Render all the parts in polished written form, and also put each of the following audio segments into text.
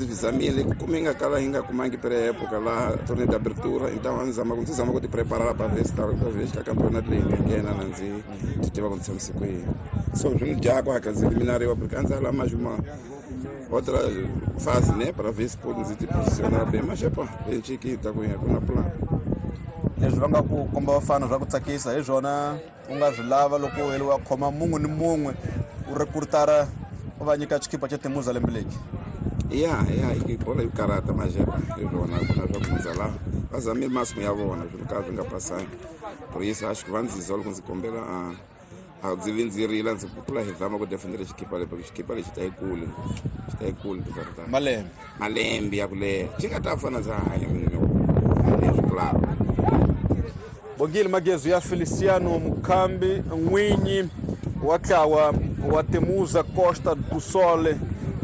Ndzi swi zamile ku kume nga kala hi nga kumangi pré-época laha torneio de abertura, então a ndzi zama ku ndzi zama ku ti preparar para ver se talvez ka campeonato leyi nga nghena na ndzi ti tiva ku ndzi tshamise ku yini. So swi ni dya ku hatla ndzi eliminariwa porque a ndzi ala mais uma outra fase, né, para ver se pode ndzi ti posicionar bem, mas epa, hi ku ya ku na plan. Leswi va nga ku komba vafana swa ku tsakisa hi swona u nga swi lava loko u heliwa khoma mun'we ni mun'we u rekrutara u va nyika xikipa xa Temuza lembe leki. Ya i bola yo karata, mas epa, hi swona ku na swa ku hundza laha va zamile masimu ya vona swilo ka swi nga pasangi. Por isso acho que va ndzi zwa loko ndzi kombela a ndzi vi ndzi rila ndzi kula hi zama ku defendela xikipa lexi, porque xikipa lexi ta yi kule, xi ta yi kule ta malembe malembe ya ku leha xi nga ta fana ndza hanya leswi claro. Bongile Magezu ya Feliciano Mukhambi, n'winyi wa ntlawa wa Temuza Costa do Sol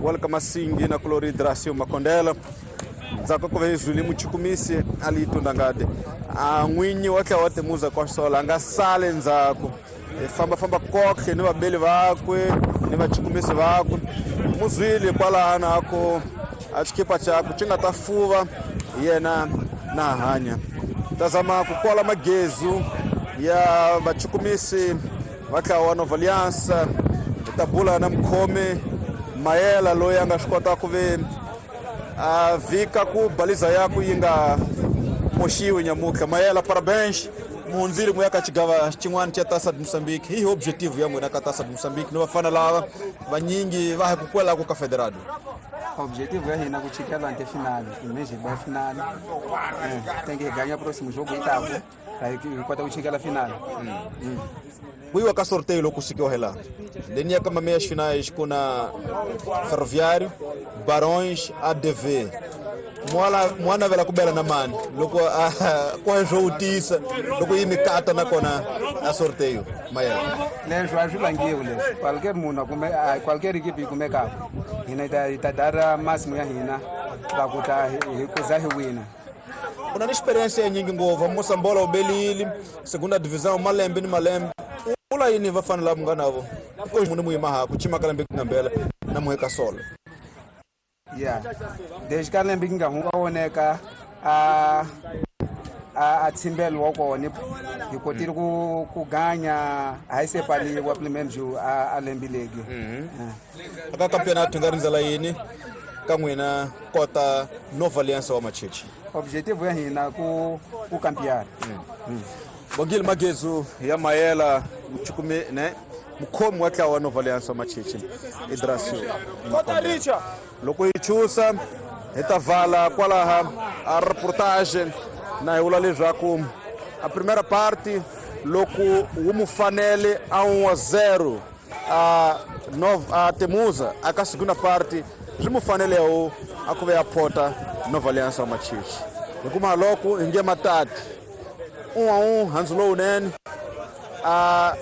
wa le ka Masingi na kulori Dracio Makondela. Ndzhaku ka ku va hi zwile muchukumisi a li tundangade a n'winyi wa ntlawa wa Temuza Costa Sol a nga sali ndzhaku, hi fambafamba kohle ni vabeli vakwe ni vachukumisi vakwe. Muzwile kwalano a ku a xikipa xakwe xi nga ta fuva yena na hanya. Ta zama ku kola magezu ya vachukumisi va ntlawa wa Nova Aliança. Hi ta bula na mukhomi Mayela loyi a nga swi kota ku ve a vhika ku baliza yaku yi nga moxiwi nyamutlha. Mayela, parabéns, muhundzile mu ya ka xigava xin'wana xa Taça de Moçambique. Hi objective ya n'wina ka Taça de Moçambique ni vafana lava vanyingi va hi ku kwelaku ka Federado? Objetivo ya hina ku chikela ante finale, imagine ba finale. Tem que ganhar próximo jogo e tá, aí kota ku chikela finale. Ku yiwa ka sorteio loko sukiwa hi laha leni ya ka meias finais ku na Ferroviário, Barões, ADV. Mwa navela ku bela na mani loko ku swo wutisa loko yi mikata nakona a sorteio Mayela? Leswi a swi vangiwi leswi, qualquer munhu a kume qualquer equipe yi kumekaka, hina hi ta dara masimu ya hina va ku ta hi kuza hi wina. U na ni experience ya nyingi ngopfu, Mosambola u belile segunda divisão malembe ni malembe. U vula yini vafana lava nga navo ko munhu muyima ha ku chima ka lembe ku nga mbela na muheka solo? Ya desde ka lembe ki nga hunga voneka a tsimbelo wa kona hi kotile ku ganya a hi se pfaliwa pelo menos a lembe legi. Aka campeonato nga rindzela yini ka n'wina kota Nova Aliança wa Machichi? Objetivo ya hina ku campear. Bongile Magezu ya Mayela, muchukumi ne mukhomi wa ntlawa wa Nova Aliança wa Machichi Idrasio. Loko hi chusa hi ta vala kwalaha a reportage na hi vula leswaku a primeira parte loko wu mu fanele a 1-0 a a Temuza, a ka segunda parte swi mu fanele wu a ku ve ya phota Nova Aliança wa Machichi. Hi kuma loko hi nge matati 1-1 handzu lowunene a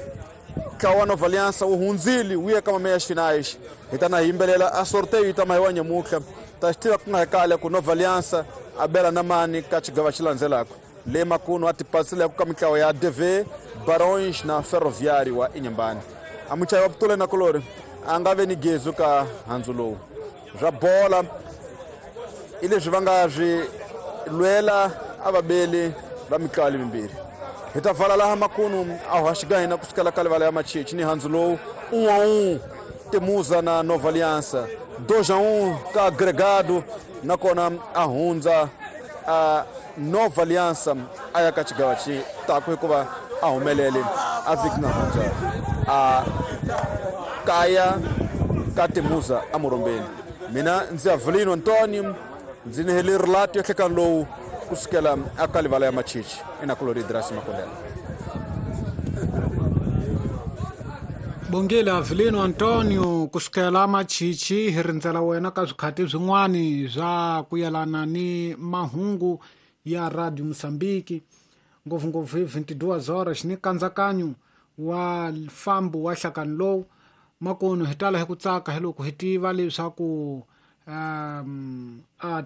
ntlawa wa Nova Aliança wu hundzile wu ya ka meias finais. Hi ta na hi yimbelela a sorteio yi ta mahiwa nyamutlha, ta xi tiva ku nga hi kale ku Nova Aliança a bela na mani ka xigava xi landzelaka. Le makunu a tipasileku ka mitlawa ya DV, Barões na Ferroviário wa Inhambane. A muchayi wa Putule na Kolori a nga ve ni gezu ka handzu lowu. Swa bola i leswi va nga swi lwela a vabeli va mitlawa lemimbirhi. Hi ta vala laha makunu a hoxa hina kusukela ka livala ya Machichi ni handzu lowu 1-1 Temuza na Nova Aliança, 2-1 ka agregado, nakona a hundza a Nova Aliança a ya ka xigava xi taku hikuva a humelele a vhiki nga hundza a kaya ka Temuza a Morombeni. Mina ndzi Avelino Antonio, ndzi ni hele relato ya hlekani lowu kusukela aka livala ya Machichi inakulori Drasi Makondela. Bongile Avelino Antonio kusukela Machichi, hi rindzela wena ka swikhati swin'wani swa ku yelana ni mahungu ya Radio Mozambique, ngopfungopfu hi 22 horas ni nkatsakanyo wa fambo wa nhlakani lowu. Makunu hi tala hi ku tsaka hi loko hi tiva leswaku a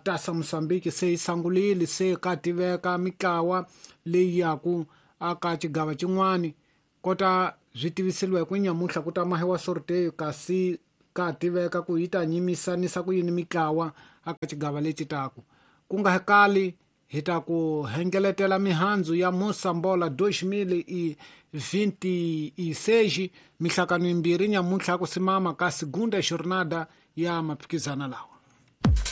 Taça Mozambique se yi sungulile, se ka tiveka mitlawa leyi yaku aka xigava xin'wani kota swi tiviseliwa hi ku nyamutlha ku ta mahiwa sorteio, kasi ka tiveka ku yi ta nyimisanisa ku yini mitlawa aka xigava lexi taku. Ku nga kali hi ta ku hengeletela mihandzu ya Mosambola 2026 mihlakano yimbirhi nyamuntlha ku simama ka segunda jornada ya maphikizana lawa.